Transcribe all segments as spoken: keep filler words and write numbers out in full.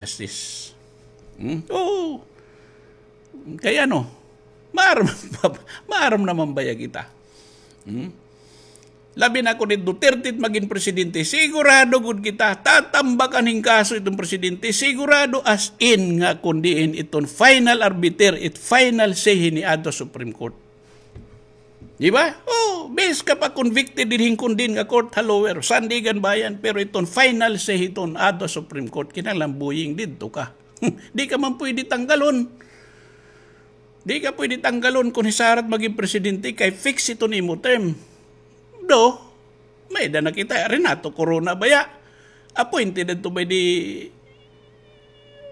Justice. Hmm? Oo. Kay ano, maaram, maaram naman baya kita. Hmm? Labi na kon it Duterte it magin presidente, sigurado gud kita, tatambakan hin kaso iton presidente, sigurado as in nga kon diin iton final arbiter, it final say hini adto Supreme Court. Di ba? Oh, bes ka pa convicted dinhi kon diin nga court ha lower, Sandiganbayan, pero iton final say hiton adto Supreme Court, kinahanglan buying didto ka. Di ka man pwede tanggalon. Di ka pwede tanggalon kon hisarat magin presidente kay fix iton imo term. Do, may-ada na kita, Renato Corona baya. Appointed adto by the,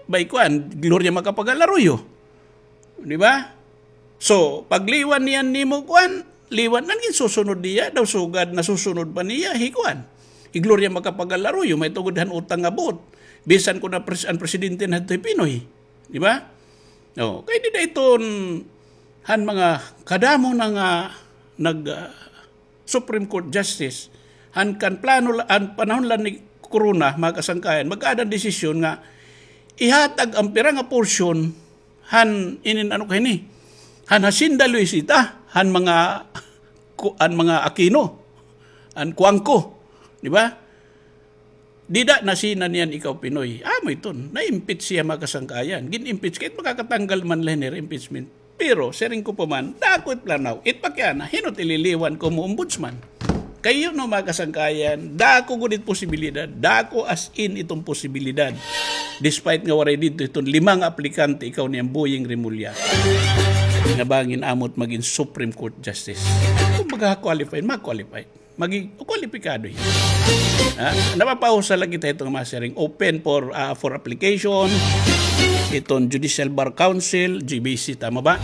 by kuan, Gloria Macapagal Arroyo. Di ba? So, pagliwan niyan nimo kuan, liwan na, ginsusunod niya, daw sugad nasusunod pa niya, hi kuan. Hi Gloria Macapagal Arroyo, may tungod han utang nga buot. Bisan kon an pres-, an presidente na adto hi Pinoy. Di ba? Oh, kay dida iton han mga kadamo na nga nag, ah, Supreme Court Justice, han kan plano la, han panahon la ni Corona, mga kasangkayan, magkaada hin desisyon nga ihatag an pira nga portion han inin ano kay ni, han Hacienda Luisita, han mga ku-, han mga Aquino, han Cuangco, di ba? Dida nasina niyan ikaw Pinoy. Amo iton, na-impeach siya, mga kasangkayan. Gin-impeach kay makakatanggal man la hini impeachment. Pero siring ko pa man, dako it planaw, it pakiana, hin-o it ililiwan ko mo ombudsman. Kay you know, mga kasangkayan, dako gud it posibilidad, dako as in iton posibilidad. Despite nga waray didto iton lima nga aplikante, ikaw ni Amboying Remulla, nga bangin amo it magin Supreme Court Justice. Kumbaga, qualified, ma-qualified. Magi-, kwalipikado hiya. Ha? Napapausa la kita hiton masiring open for, ah, for application. Hiton Judicial Bar Council, J B C, tama ba?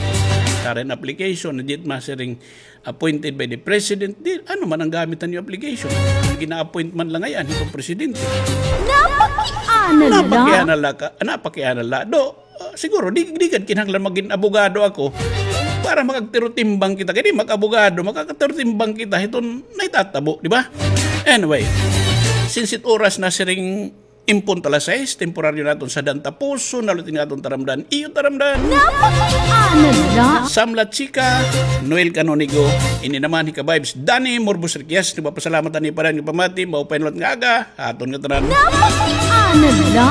Current application, na diyat masiring appointed by the president. Di, ano man an gamit han iyo application? Gina-appoint man la ngay-an hiton presidente. Napakiana la. Napakiana la ka, napakiana la. Do, Ah, siguro, di, di gad kinahanglan magin abogado ako para makagtirotimbang kita. Kay di mag-abogado, makagtirotimbang kita hiton nahitatabo, di ba? Anyway, since it oras na siring impunto alas sais, temporaryo naton sadyan tapuson, nalutin nga aton taramdan, iyo taramdan. Napakiana la. Samla Chika, Noel Canonigo, ini naman hi ka-vibes, Danny Morbos Riquez, nagpapasalamat ani pa rin nga pamati, maupay na liwat nga aga, aton nga tanan. Napakiana la.